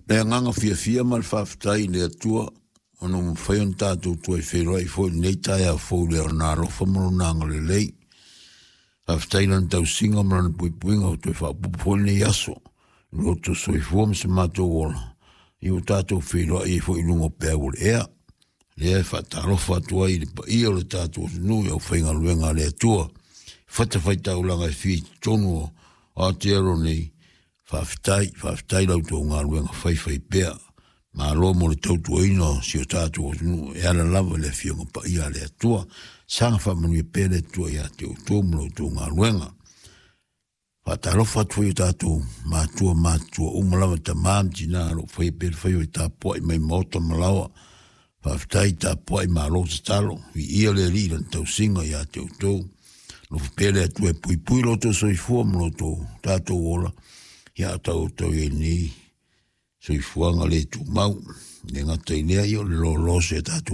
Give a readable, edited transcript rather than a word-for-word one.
Le agaga fiafia ma le faafetai i le Atua ona ua mafai ona tatou toe feiloai foi i lenei taeao fou i Lona alofa ma Lona agalelei. Faafetai i Lana tausiga ma Lana puipuiga ua toe faaopoopo foi lenei aso i lo outou soifua ma se matou ola, ia ua tatou feiloai ai foi i luga o peau o le ea. Lea e faatalofa atu ai i le paia o le tatou atunuu i aufaigaluega a le Atua i fatafaitaulaga e fia i totonu o Aotearoa nei. Faafetai, faafetai la outou galuega faifaipea. Malo mo le tautuaina o si o tatou atunuu e ala lava i le Afioga Paia a le Atua. Saga faamanuia pea le Atua ia te outou ma la outou galuega. Faatalofa atu foi i o tatou matua matutua uma lava, tama ma tina o lo o faia pea le faiva i tapuai mai maota ma laoa. Faafetai tapuai, malo tatalo, viia le Alii i lana tausiga ia te outou. Alofa pea le Atua e puipui lo outou soifua ma lo outou tatou ola, ia a tau outou i ai lenei soifuaga le tumau. Le gata i lea, ia o le lolos e tatou